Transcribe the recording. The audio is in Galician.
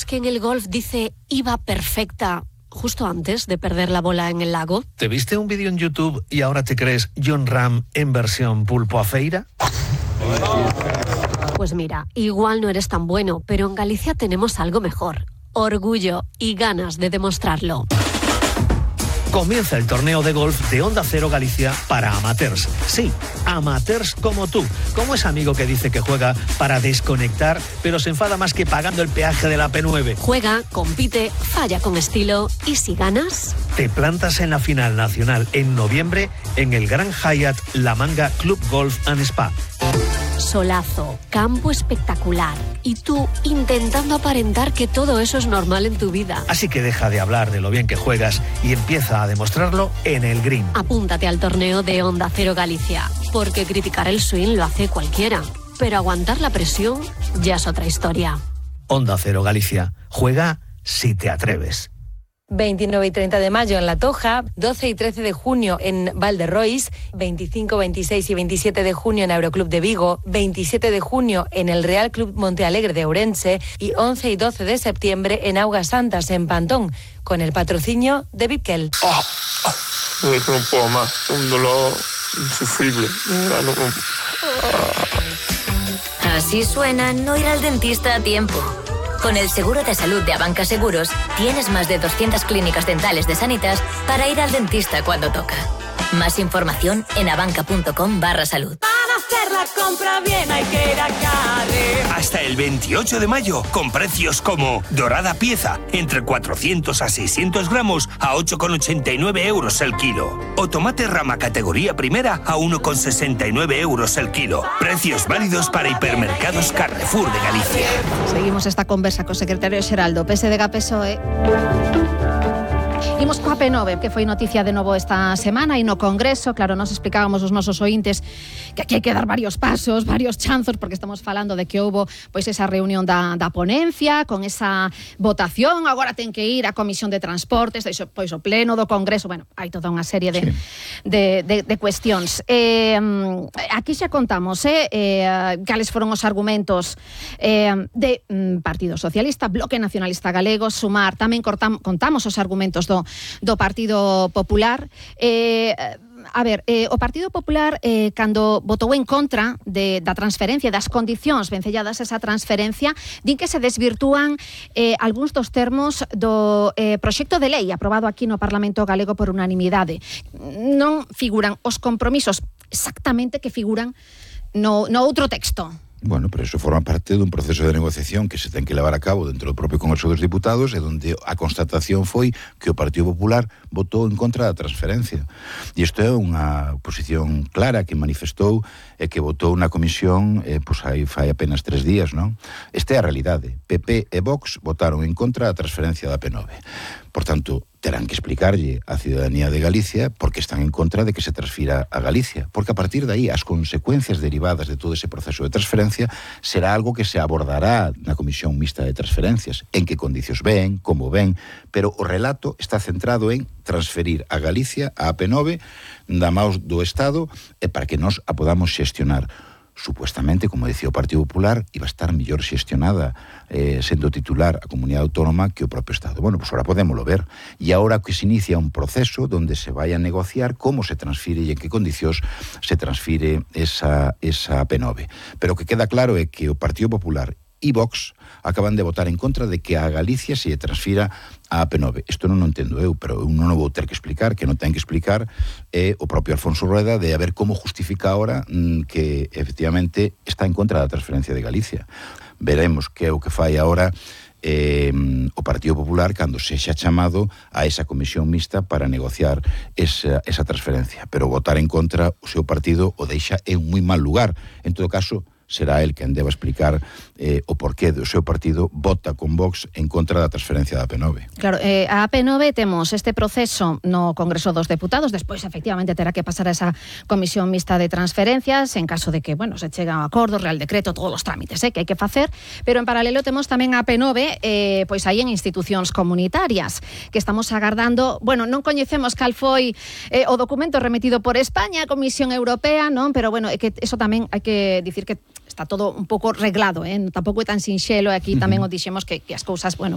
que en el golf dice iba perfecta justo antes de perder la bola en el lago? ¿Te viste un vídeo en YouTube y ahora te crees Jon Rahm en versión pulpo a feira? Pues mira, igual no eres tan bueno, pero en Galicia tenemos algo mejor. Orgullo y ganas de demostrarlo. Comienza el torneo de golf de Onda Cero Galicia para amateurs. Sí, amateurs como tú. Como ese amigo que dice que juega para desconectar, pero se enfada más que pagando el peaje de la P9. Juega, compite, falla con estilo y si ganas... Te plantas en la final nacional en noviembre en el Gran Hyatt La Manga Club Golf and Spa. Solazo, campo espectacular y tú intentando aparentar que todo eso es normal en tu vida. Así que deja de hablar de lo bien que juegas y empieza a demostrarlo en el green. Apúntate al torneo de Onda Cero Galicia, porque criticar el swing lo hace cualquiera, pero aguantar la presión ya es otra historia. Onda Cero Galicia, juega si te atreves. 29 y 30 de mayo en La Toja, 12 y 13 de junio en Valderrois, 25, 26 y 27 de junio en Aeroclub de Vigo, 27 de junio en el Real Club Montealegre de Ourense y 11 y 12 de septiembre en Augas Santas en Pantón, con el patrocinio de Vipkel. No puedo más, un dolor insufrible. Así suena no ir al dentista a tiempo. Con el seguro de salud de Abanca Seguros, tienes más de 200 clínicas dentales de Sanitas para ir al dentista cuando toca. Más información en abanca.com/salud. Para hacer la compra bien hay que ir a Carrer. Hasta el 28 de mayo, con precios como dorada pieza, entre 400 a 600 gramos a 8,89 euros el kilo. O tomate rama categoría primera a 1,69 euros el kilo. Precios válidos para hipermercados Carrefour de Galicia. Seguimos esta conversa co secretario xeral do PSDG-PSOE. Imos coa P9, que foi noticia de novo esta semana e no Congreso. Claro, nos explicábamos os nosos ointes que aquí hai que dar varios pasos, varios chanzos, porque estamos falando de que houbo pois esa reunión da ponencia, con esa votación, agora ten que ir a Comisión de Transportes, pois o Pleno do Congreso, bueno, hai toda unha serie de cuestións. Aquí xa contamos cales foron os argumentos de Partido Socialista, Bloque Nacionalista Galego, Sumar, tamén contamos os argumentos do Partido Popular. O Partido Popular, cando votou en contra da transferencia, das condicións vencelladas esa transferencia, din que se desvirtúan algúns dos termos do proxecto de lei aprobado aquí no Parlamento Galego por unanimidade. Non figuran os compromisos exactamente que figuran no outro texto. Bueno, pero eso forma parte dun proceso de negociación que se ten que levar a cabo dentro do propio Congreso dos Diputados e onde a constatación foi que o Partido Popular votou en contra da transferencia. E isto é unha posición clara que manifestou e que votou na comisión fai apenas 3 días, non? Esta é a realidade. PP e Vox votaron en contra da transferencia da P9. Por tanto, terán que explicarlle á ciudadanía de Galicia por que están en contra de que se transfira a Galicia, porque a partir de aí as consecuencias derivadas de todo ese proceso de transferencia será algo que se abordará na Comisión Mixta de Transferencias, en que condicións ven, como ven, pero o relato está centrado en transferir a Galicia a P9 da maus do Estado e para que nós a podamos xestionar. Supuestamente, como decía o Partido Popular, iba a estar mellor xestionada sendo titular a comunidade autónoma que o propio Estado. Bueno, pues ahora podémoslo ver. E agora que se inicia un proceso donde se vai a negociar como se transfire e en que condicións se transfire esa P9. Pero o que queda claro é que o Partido Popular e Vox acaban de votar en contra de que a Galicia se transfira a P9. Isto non o entendo eu, pero eu non o vou ter que explicar, que non ten que explicar o propio Alfonso Rueda de a ver como justifica ahora que efectivamente está en contra da transferencia de Galicia. Veremos que é o que fai agora o Partido Popular cando sexa chamado a esa comisión mixta para negociar esa transferencia. Pero votar en contra o seu partido o deixa en moi mal lugar. En todo caso, será el quen deba explicar o porqué do seu partido vota con Vox en contra da transferencia da P9. Claro, a P9 temos este proceso no Congreso dos Deputados, despois efectivamente terá que pasar a esa comisión mixta de transferencias en caso de que, se chega a acordo, real decreto, todos os trámites que hai que facer, pero en paralelo temos tamén a P9 pois aí en institucións comunitarias que estamos agardando, non coñecemos cal foi o documento remitido por España, a Comisión Europea, non, pero é que eso tamén hai que dicir que está todo un pouco reglado, tampouco é tan sinxelo, e aquí tamén o dixemos que as cousas,